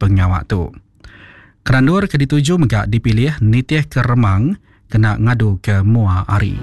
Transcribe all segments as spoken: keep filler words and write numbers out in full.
pengawa tu. Kerandur ke dituju mega dipilih nitih ke remang kena ngadu ke mua hari.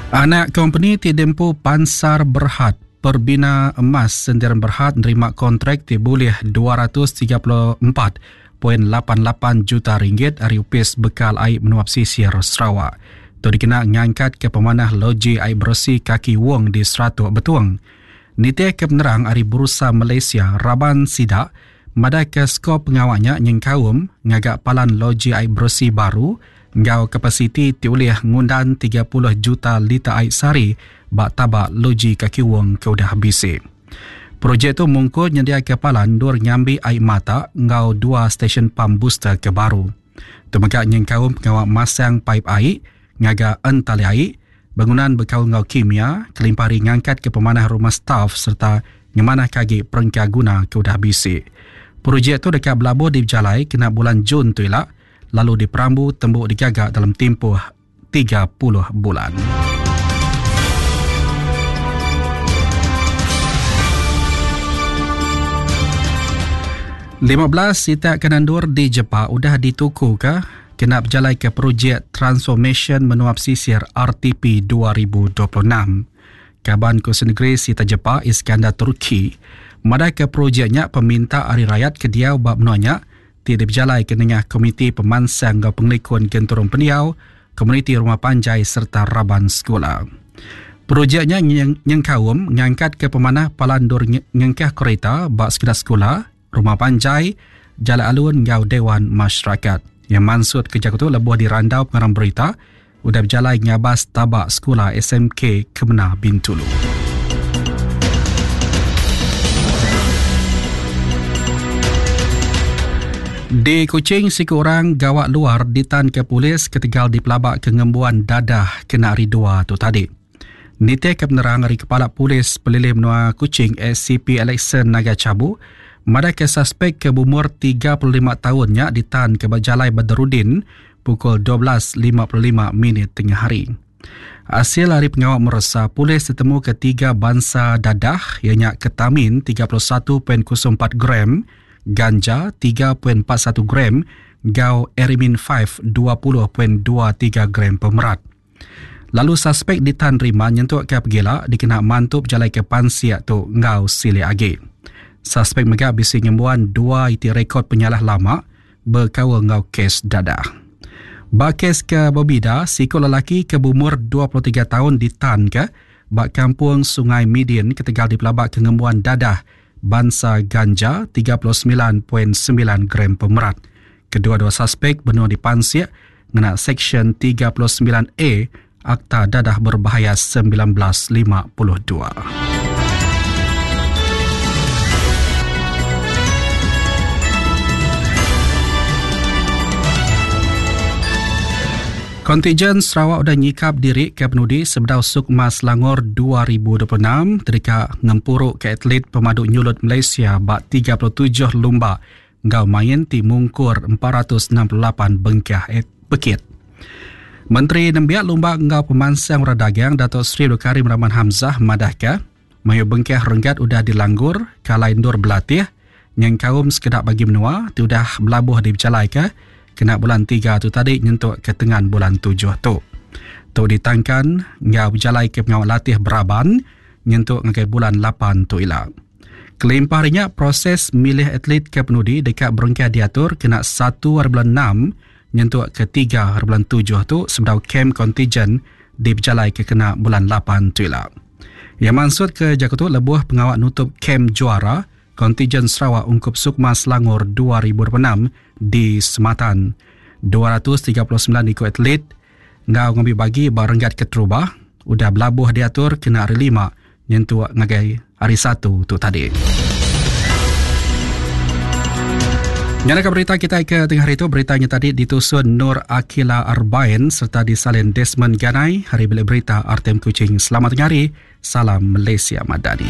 Anak kompeni ti dempu Pansar Berhad Perbina Emas Sendirian Berhad nerima kontrak ti bulih dua ratus tiga puluh empat koma lapan lapan juta ringgit ari Upis Bekal Air Menua Pesisir Sarawak. Tu dikena ngangkat ke pemanah loji air bersih Kaki Wong di Seratuk Betung. Nitih ke penerang ari Bursa Malaysia, Raban Sidak madai ke skop pengawaknya nyengkaum ngagak palan loji air bersih baru ngau kapasiti ti ulih ngundan tiga puluh juta liter air sehari bak tabak loji Kaki Wong ke udah bisi. Projek tu mungkur nyendia ke palan dur ngambi air mata ngau dua stesen pam booster ke baru. Tu mega nyengkaum pengawak masang paip air, ngagak entali air, bangunan bekau ngau kimia, kelimpari ngangkat ke pemanah rumah staf serta ngemanah kagi perengka guna ke udah bisi. Projek tu dekat belabuh di Berjalai kena bulan Jun tu ilak, lalu diperambu tembuk digagak dalam tempoh tiga puluh bulan. lima belas sitak kenandur di Jepak udah dituku ke kena berjalai ke projek Transformation Menua Pesisir R T P dua ribu dua puluh enam. Kaban Kursi Negeri Sita Jepak Iskandar Turki madai ke projeknya peminta hari rakyat ke diau bab menuanya ti diberjalai ke nengah Komiti Pemansang Ngau Pengelikun Genturung Pendiau, Komuniti Rumah Panjai serta Raban Sekolah. Projeknya nyengkaum ngangkat ke pemanah palan dur ngengkah kereta bak sekedar sekolah, Rumah Panjai, Jalan Alun ngau Dewan Masyarakat. Yang mansut kerja tu lebuh di randau pengarang berita udah berjalai ngabas tabak sekolah S M K Kemena Bintulu. Di Kuching, siku orang gawak luar ditan ke polis ketegal dipelabak ke ngembuan dadah kena hari dua tu tadi. Nitih ke penerang hari Kepala Polis Pelilih Menua Kuching S C P Alexon Naga Chabu, madai ke suspek ke berumur tiga puluh lima tahunnya ditan ke Berjalai Badarudin pukul dua belas lima puluh lima minit tengah hari. Hasil hari pengawal meresa, polis ditemu ke tiga bangsa dadah ianya ketamin tiga puluh satu koma kosong empat gram, ganja tiga koma empat satu gram, gau erimin lima dua puluh koma dua tiga gram pemerat. Lalu suspek ditan rima nyentuk ke pegila dikena mantup jalai ke pansiak tu ngau silik agi. Suspek mega bisi ngembuan dua iti rekod penyalah lama berkaul ngau kes dadah. Ba kes ke berbida, siku lelaki ke berumur dua puluh tiga tahun ditan ke ba kampung Sungai Midin ketegal dipelabak ke ngembuan dadah bangsa ganja tiga puluh sembilan koma sembilan gram pemerat. Kedua-dua suspek benua dipansiak ngena Seksyen tiga puluh sembilan A Akta Dadah Berbahaya sembilan belas lima puluh dua. Kontijen Sarawak udah nyikap diri ke penudi sebedau Sukma Selangor dua ribu dua puluh enam terika ngempuruk ke atlet pemadu nyulut Malaysia bak tiga puluh tujuh lumba ngau main ti mungkur empat ratus enam puluh lapan bengkah pekit. Menteri Nembiak Lumba ngau Pemansang Orang Dagang Datuk Seri Abdul Karim Rahman Hamzah madahka mayu bengkah renggat udah dilanggur kalai ndur belatih nyengkaum sekedak bagi menua ti udah belabuh di berjalai ke kena bulan tiga tu tadi nyentuk ke tengan bulan tujuh tu. Tu ditangkan ngau berjalai ke pengawal latih beraban nyentuk ngagai bulan lapan tu ila. Kelimpahnya proses milih atlet ke penudi dekat berengkah diatur kena satu hari bulan enam nyentuk ke tiga hari bulan tujuh tu sebedau kem kontijen di berjalai ke kena bulan lapan tu ila. Yang maksud ke Jakarta lebuh pengawal nutup kem juara kontijen Sarawak Ungkup Sukma Selangor dua ribu dua puluh enam di Sematan. dua ratus tiga puluh sembilan ikut atlet ngau ngambil bagi barenggat keterubah udah belabuh diatur kena hari lima nyentuk ngagai hari satu tu tadi. Nyalakan berita kita ke tengah hari itu. Beritanya tadi ditusun Nur Akila Arbain serta disalin Desmond Ganai. Hari bilik berita R T M Kuching. Selamat tengah hari. Salam Malaysia Madani.